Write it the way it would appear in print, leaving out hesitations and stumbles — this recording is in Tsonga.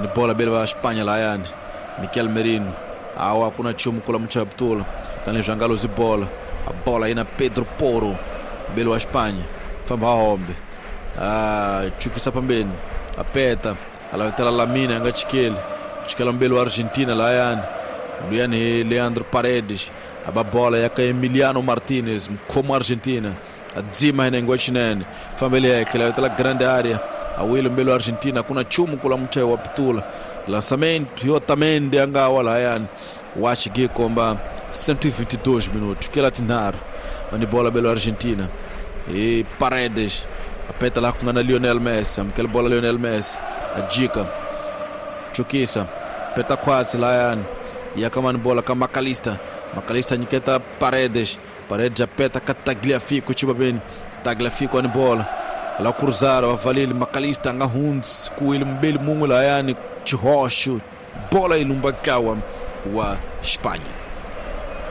Ni bola bele va Espanha layani. Mikel Merino. Awa kuna chumu kula mchaptula. Tani jangalo zi bola. A bola aí na Pedro Porro. Bele wa Espanha. Famba hombe. Ah, chukisa pambeni. Apeta. Alavetela Lamina anga chikele. Chikela mbele wa Argentina layani. Luyani Leandro Paredes. Aba bola yaka Emiliano Martinez, como Argentina. Adzima ina chinene. Família yake lavetela grande área. Awilo mbele wa Argentina kuna chumu kula mchayo wa pitula. Lançamento e Otamendi anga wala yani. Wachi komba 122 minutos. Que latinar. Mani bola belo Argentina. E Paredes. Apeta lá com a Lionel Messi. Aquela bola Lionel Messi. A dica. Chukisa. Peta quase lá yani. E a mani bola com Macalista. Macalista nyiketa Paredes. Paredes apeta ka Tagliafico chiba bem. Tagliafico ani bola. Lá cruzaram, avalile Macalista anga hunds ku ele mbele mungu la yani Chihocho. Bola ilumbakawa wa Espanha.